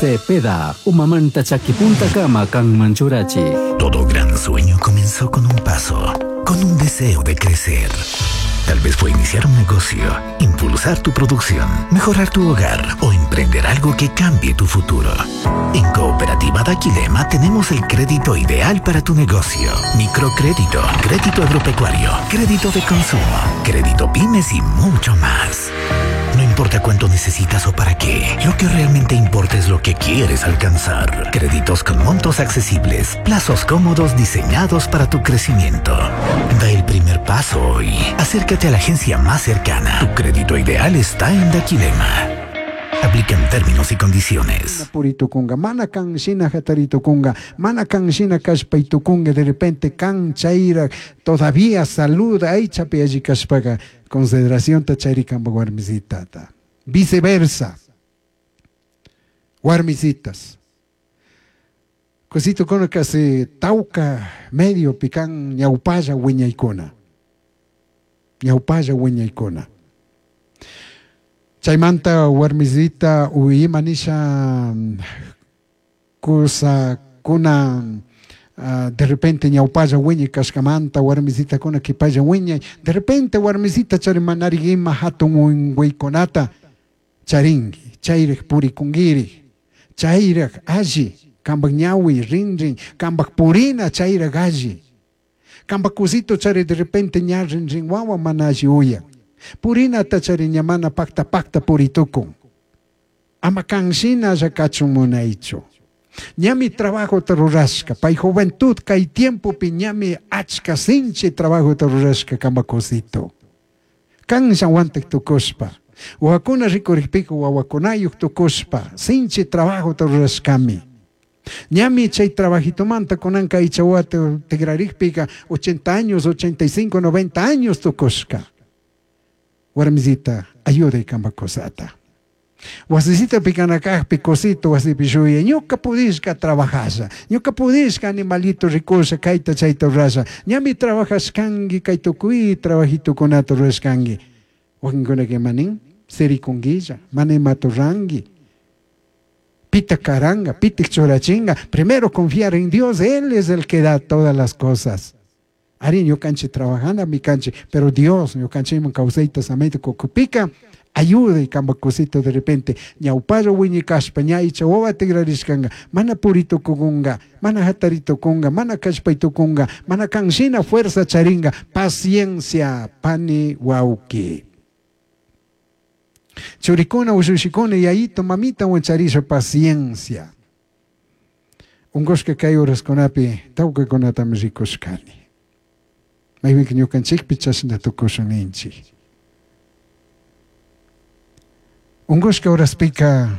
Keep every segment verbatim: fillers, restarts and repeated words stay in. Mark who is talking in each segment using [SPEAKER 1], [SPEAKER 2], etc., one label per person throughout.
[SPEAKER 1] Cepeda, umamanta chakipuntakama kanman churachik.
[SPEAKER 2] Todo gran sueño comenzó con un paso, con un deseo de crecer. Tal vez fue iniciar un negocio, impulsar tu producción, mejorar tu hogar o emprender algo que cambie tu futuro. En Cooperativa Daquilema tenemos el crédito ideal para tu negocio. Microcrédito, crédito agropecuario, crédito de consumo, crédito pymes y mucho más. No importa cuánto necesitas o para qué, lo que realmente importa es lo que quieres alcanzar. Créditos con montos accesibles, plazos cómodos diseñados para tu crecimiento. Da el primer paso hoy. Acércate a la agencia más cercana. Tu crédito ideal está en Daquilema. Aplican términos y condiciones.
[SPEAKER 3] Puritukunga, mana kan shina hataritukunga, mana kan shina kallpaytukunga, de repente kan chayra todavía saluda aychapi alli kashpaga consideracionta charikanpa warmisitata. Viceversa. Warmisitas. Cositukuna kasi tawka medio pikan ñawpalla wiñaykuna. Ñawpalla wiñaykuna. Chaymanta warmisita ima nisha kusakuna uh, de repente ñawpalla wiñay kashkamanta warmisitakuna kipalla wiñay de repente warmisita chari manari ima hatun unquykunata charinki chayrik purikunkiri chayrak alli kampak ñawi rinrin kampak purina chayrak alli kampak kusito chari de repente ña rinrin wawa mana alli uyan purinata chari ña mana pakta pakta puritukun ama kanshina kachun munaychu ñami trabajota rurashka pay juventud kay tiempopi ñami achka sinchi trabajota rurashka kampak kusito kansha wantik tukushpa wawakuna rikurikpika wawakunayuk tukushpa sinchi trabajota rurashkami ñami chay trabajitomanta kunanka aycha wawata tikrarikpika ochenta años, ochenta y cinco, noventa años tukushka warmisita ayuday kampak kusata wasisita pikanakajpi kusito wasipi shuyay ñuka pudishka trabajasha ñuka pudishka animalito rikusha kayta chayta rurasha ñami trabajashkanki kay tukuy trabajitukunata rurashkanki wakinkunaka imanin sirikunkilla mana imata ruranki pita karanga pitik churachinga primero confiar en Dios, Él es el que da todas las cosas. Ari ñukanchik trabajana mi kanchik, pero Dios ñukanchikman kawsayta samayta kukupika ayuda kampak kusito de repente ñawpalla wiñikashpa ña aycha wawa tikrarishkanka mana puritukunga mana hataritukunga mana kallpaytukunga mana kanshina fuerza charinga paciencia pani wawki churikuna ushushikuna yayito mamitawan charisha paciencia unkushka kay horaskunapi tawkakunatami rikushkani maypika ñukanchikpi chashna tukushun ninchik unkushka horaspika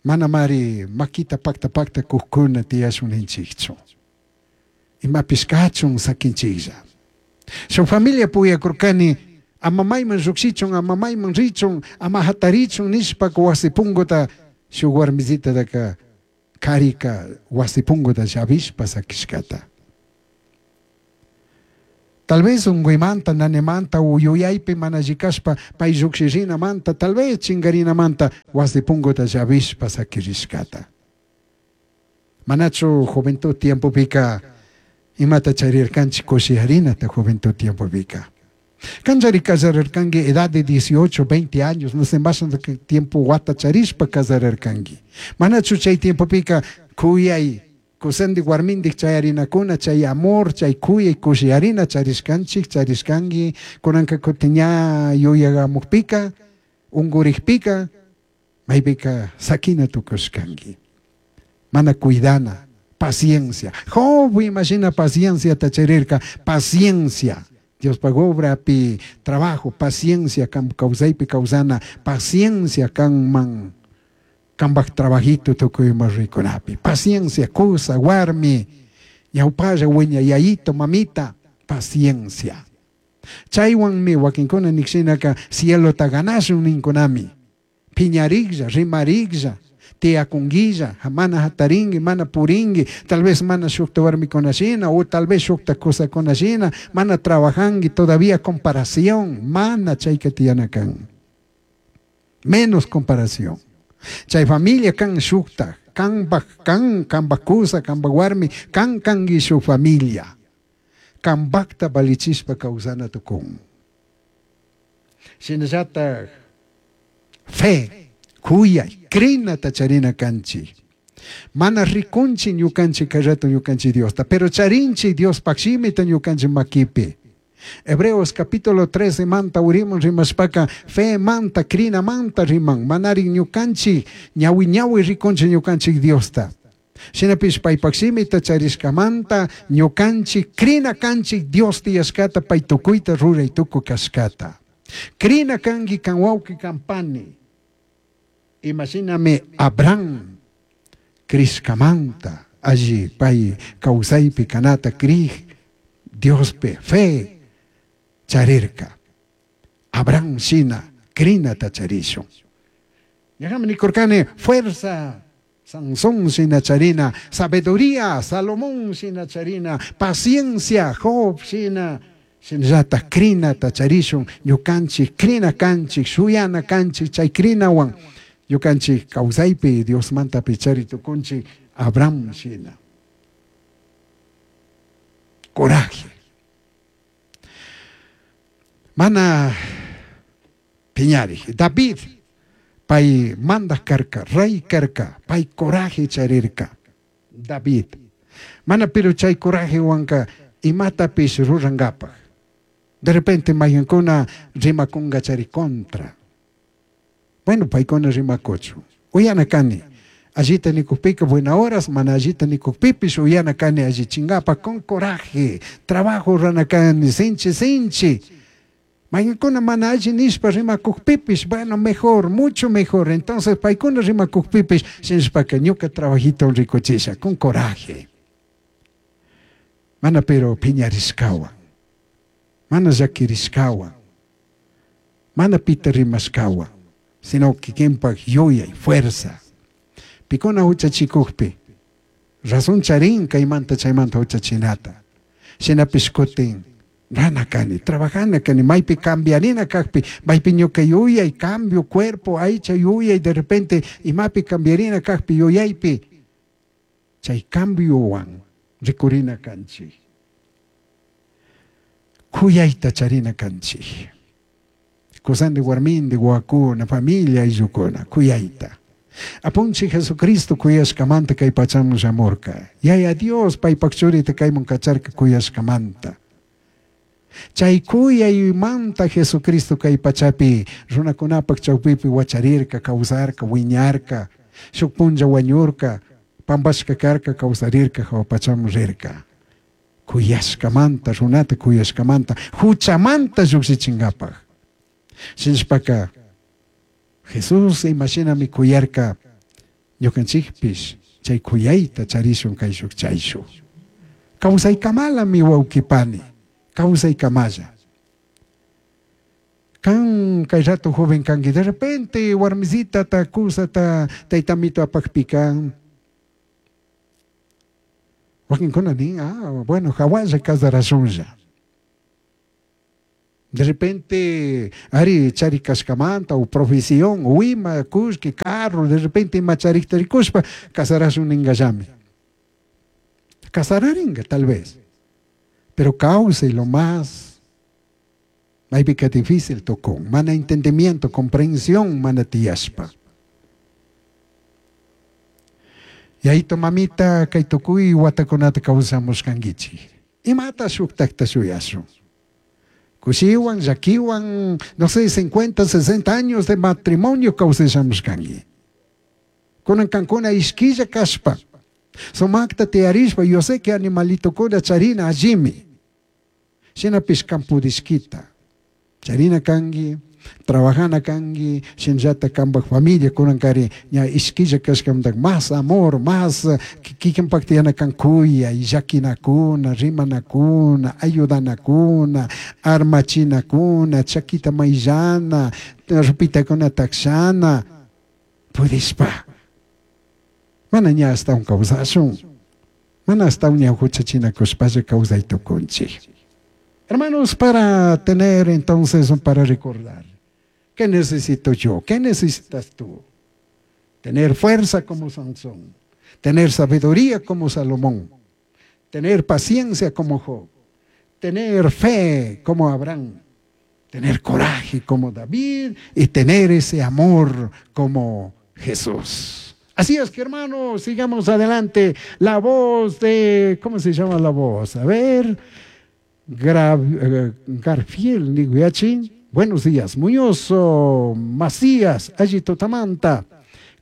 [SPEAKER 3] manamari makita pakta pakta kukkuna tiyashun ninchikchu imapish kachun sakinchiklla shuk familia puyakurkani ama mayman llukshichun ama mayman richun ama hatarichun nishpaka wasi punkuta shuk warmisitaka karika wasi punkuta llavishpa sakishkata tal vez unkuymanta nanimanta yuyaypi mana llikashpa pay llukshirinamanta tal vez chinkarinamanta wasi punkuta llavishpa sakirishkata manachu juventud tiempopika imata charirkanchik kushiyarinata juventud tiempopika kanchari casararkanki edad de dieciocho, veinte años, no sé más tiempo wata charishpa casararkanki manachu chay tiempopika kuyay kusandik warmindik chayarinakuna chay amor chay kuyay kushiyarina charishkanchik charishkanki kunanka kutin ña yuyagamukpika unkurikpika maypika sakina tukushkanki mana cuidana paciencia Job imagina paciencia tacharirka paciencia Diospaj obrapi trabajo paciencia kan kawsaypi kawsana paciencia kanman kanpak trabajito tukuy ima rikunapi paciencia kusa warmi ñawpalla wiña yayito mamita paciencia chaywanmi wakinkuna nikshinaka cielota ganashun ninkunami piñariklla rimariklla tiyakunguilla mana hatarinki mana purinki tal vez mana shukta warmikunashina o tal vez shukta kusakunashina mana trabajanki todavía comparación mana chayka tiyana kan menos comparación Chay familia kan shukta, kanpaj kan, kanpaj kusa, kanpaj warmi, kan kanki shuk familia. Kanpakta valichishpa kawsana tukun. Shinallatak fe, kuyay, krinata charina kanchik. Mana rikunchik ñukanchik kay rato ñukanchik Diosta, pero charinchik Diospaj shimita ñukanchik makipi. Hebreos capítulo trece manta uriman rimashpaka fe manta krina manta riman manari ñukanchik ñawi ñawi rikunchik ñukanchik Diosta. Shinapish paypaj shimita charishkamanta ñukanchik krina kanchik Dios tiyashkata pay tukuyta ruray tukuy kashkata. Krina kanki kan wawqi kan pani. Imashinami Abraham krishkamanta alli pay kawsaypi kanata krij Diospi fe charirka. Abraham shina krinata charishun. Ñaqami nikurkani fuerza Sansón shina charina, sabiduría Salomón shina charina, paciencia Job shina, shinallata krinata charishun, ñukanchik krina kanchik, shuyana kanchik, chay krinawan ñukanchik kawsaypi Diosmantapi chari tukunchik Abraham shina. Coraje. Mana piñari. David, pay mandaj karka, rey karka, pay coraje charirka. David. Mana pero chay coraje wanka imatapish rurankapaj. De repente mayunkuna rimakunga chari contra. Bueno, paykuna rimakuchu. Uyana kani. Allita nikukpika buena horas, mana allita nikukpipish uyana kani alli chingapa con coraje. Trabajo rana kani, sinchi sinchi. Mayunkuna mana alli nishpa rimakukpipish, bueno, mejor, mucho mejor. Entonces, paykuna rimakukpipish, shinshpaka ñuka trabajito rikuchisha, con coraje. Mana pero piñarishkawan, mana llakirishkawan, mana pita rimashkawan, sino kikinpak yuyay, fuerza. Pikuna huchachikukpi, razón charin kaymanta chaymanta huchachinata. Shinapish kutin, rana kani, trabajana kani, maypi cambiarina kakpi, maypi ñuka yuyay, cambio cuerpo, aycha yuyay, de repente imapi cambiarina kakpi yuyaypi, chay cambiowan rikurina kanchik. Kuyayta charina kanchik. Kusandi warmindi, wawakuna, familia ayllukuna, kuyayta. Apunchik Jesucristo kuyashkamanta kay pachaman shamurka. Yaya Dios paypak churita kayman kacharka kuyashkamanta. Chay kuyaymanta Jesucristo kay pachapi runakunapak chawpipi wacharirka, kawsarka, wiñarka, shuk punlla wañurka, pampashka karka, kawsarirka, hawa pachaman rirka. Kuyashkamanta, runata kuyashkamanta, huchamanta llukshichinkapaj. Shinashpaka Jesús imashinami kuyarka ñukanchikpish chay kuyayta charishun kayshuk chayshuk. Kawsaykamalami wawqipani, kawsaykamalla. Kan kay rato joven kanki, de repente warmisita ta kusata taytamito apakpi kan. Wakinkuna nin, ah, bueno, hawalla casarashunlla. De repente, ari chari kashkamanta o profesión, o ima, kushki, carro, de repente ima charikta rikushpa, casarashun ningallami. Casararinga, tal vez. Pero causa y lo más, maypika difícil tocó, mana entendimiento, comprensión, mana tiyashpa. Y ahí tu mamita, kay tukuy watakunata kawsamushkankichik. Imata shuktakta shuyashun. Kushiwan, llakiwan, no sé, cincuenta, sesenta años de matrimonio kawsashamushkanki. Kunan kankuna ishkilla kashpa. Sumakta tiyarishpa, yo sé que animalitokuna charina allimi. Shinapish kampudishkita. Charina kanki, trabajana kanki, shinllata kanpak familia kunan kari ña ishkilla kashkamanta más amor, más kikinpak tiyana kan kuyay, llakinakuna, rimanakuna, ayudanakuna, armachinakuna, chakita mayllana, rupitakuna takshana, pudishpa. Mana ña astawan kawsashun, mana astawan ña huchachinakushpalla kawsay tukunchik. Hermanos, para tener entonces, para recordar, ¿qué necesito yo? ¿Qué necesitas tú? Tener fuerza como Sansón, tener sabiduría como Salomón, tener paciencia como Job, tener fe como Abraham, tener coraje como David y tener ese amor como Jesús. Así es que, hermanos, sigamos adelante. La voz de, ¿cómo se llama la voz? A ver, eh, Garfiel Niguiachi. Buenos días. Muñoz Macías, Allí Totamanta.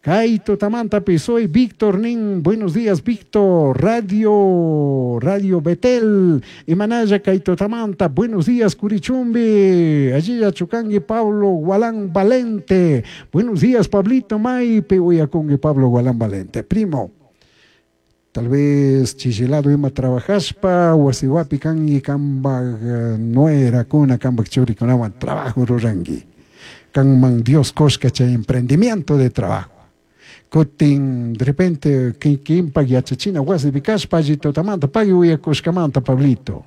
[SPEAKER 3] Kaito Tamanta soy Víctor Nin. Buenos días, Víctor. Radio, Radio Betel. Imanaya Kaito Tamanta. Buenos días, Curichumbi. Allí Chucangui Pablo Gualán Valente. Buenos días, Pablito Maipe. Uyacongue Pablo Gualán Valente. Primo. Tal vez chichilado ima trabajaspa, wasiwapi kangi kambaj nuera kuna kambaj churikunawan trabajo rurangi. Kanman Dios koshka chay emprendimiento de trabajo. Kutin de repente kimpak yachachina wasi vikashpa alli tutamanta pagui uyakushkamanta Pablito.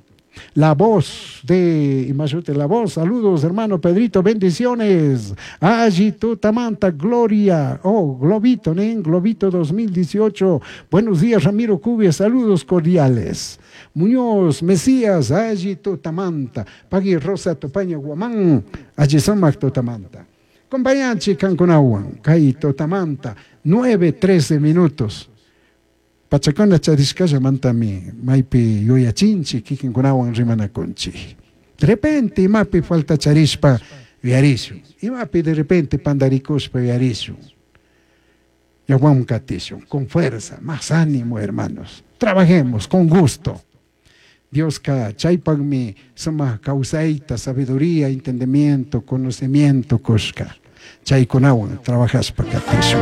[SPEAKER 3] La voz de Imashute, la voz, saludos hermano Pedrito, bendiciones. Allí Tutamanta, Gloria, oh, Globito, ¿eh? Globito dos mil dieciocho. Buenos días, Ramiro Cubia, saludos cordiales. Muñoz, Mesías, allí Tutamanta. Pagui Rosa Topaña Guamán, allí Somac Tutamanta. Compañanchi Cancunahuan, Kai Totamanta, nueve, trece minutos. Pachacona charishkalla mantami, maipi yuyachinchi, kikinkunawan rimanakunchi. De repente, imapi falta charishpa yuyarishun. Imapi de repente pandarikushpa yuyarishun. Yaguam katishun, con fuerza, más ánimo, hermanos. Trabajemos con gusto. Dios ka chaypagmi suma kawsayta, sabiduría, entendimiento, conocimiento kushka. Chaykunawan trabajashpa katishun.